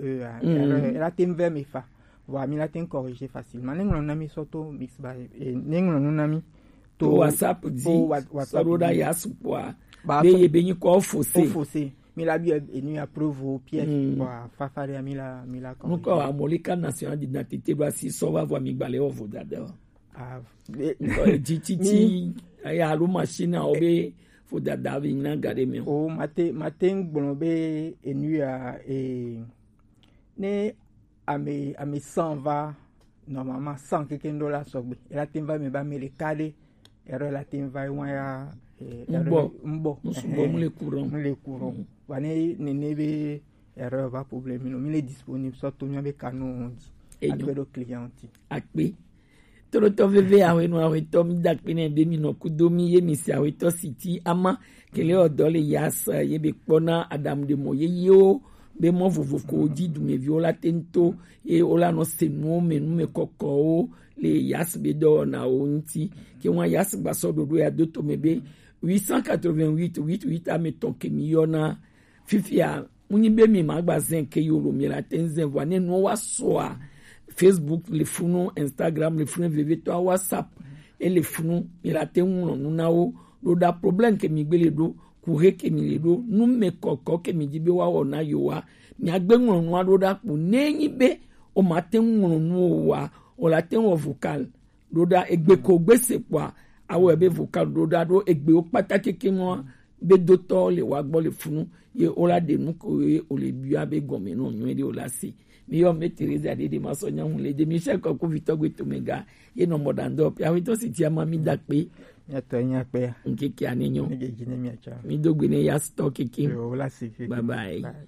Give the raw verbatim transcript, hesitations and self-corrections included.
E, a, mm, erreur, e la te ŋ vɛ mi fa. Voilà, mi la te ŋ corriger facilement. Ne ŋlɔ nu na mi sɔ to mix ba, e, ne ŋlɔ nu na mi to WhatsApp di, to wa-, WhatsApp sɔ ɖo ɖa di. Ya sukpɔa. Ba be sɔ-, ye be nyi kɔ fose. Kɔ fose. Mi la bi e, e nu ya preuve pièce. Mm. Voilà, fa fa de mi la, mi la corriger. Nukɔ amolika national d'identité do asi sɔ va vɔ mi gbalɛ o vo dada. Ah, e, nukɔ e di titi, mi- aya alo machine a o be fo dada be nyina ga de mi o. O, ma te, ma te ŋ gblɔ be enu ya, e, ne ame, ame cent va, normalement cent keke ŋɖo la sɔgbe. E la te ŋ va me ba me ɖeka ɖe, erreur la te ŋ va wa ya, e, ŋgbɔ. Erreur ŋgbɔ. Ŋsugbɔ, mu le courant. Mu le courant. Mm. Wa ne, ne, ne be erreur va problème no. Mi le disponible sɔ to mi be kanu di. Enyo. Akpe ɖo client ti. Akpe. Tolotɔ veve ahwenu ahwetɔ mi da akpe ne be mi nɔ kudo mi ye mi si ahwetɔ si ti ama kele ɔdɔ le yas ye be kpɔna adamu de mɔ ye yo be mɔ vovo ko di dumeviwo la te ŋ to ye wo la nɔ se nuwo me nu me kɔkɔwo le yas be dɔwɔnawo ŋuti. Ke wa yas gbasɔ ɖoɖo ya do to me be huit cent quatre-vingt-huit huit huit ame tɔn ke mi yɔna. Fifia, mu nyi be mi ma gba zɛn ke yo lo mi la te ŋ zɛn vɔ ne nuwo wa sɔa. Facebook le funu, Instagram le funu, vevetɔ WhatsApp e le funu, mi la te ŋ ŋlɔ nu na wo. Ɖo ɖa problème ke mi gbe le ɖo, kuhe ke mi le ɖo, nu me kɔkɔ ke mi di be wa wɔ na yo wa, mi agbe ŋlɔ nua ɖo ɖa kpo ne nyi be o ma te ŋ ŋlɔ nu o wa, o la te ŋ wɔ vocal. Ɖo ɖa egbe ko gbe se kpɔa, awɔ ebe vocal ɖo ɖa ɖo egbewo kpata keke mɔ be dotɔ le wa gbɔ le funu ye o la ɖe nu ko ye o le bia be gɔme nɔ nyuie ɖe o la se. Mi yɔ me Teresa ɖe ɖe ma sɔ nyamu le ɖe mi se kɔ ko vitɔ gbe to me ga ye nɔ mɔ ɖandɔ pe awetɔ si tia ma mi da kpe. Nyatɔ nya kpe. Nkeke ane nyo. Ne ge gine mi acha. Mi do gbe ne ya stɔ keke. Yo, o la se keke. Bye bye. Bye.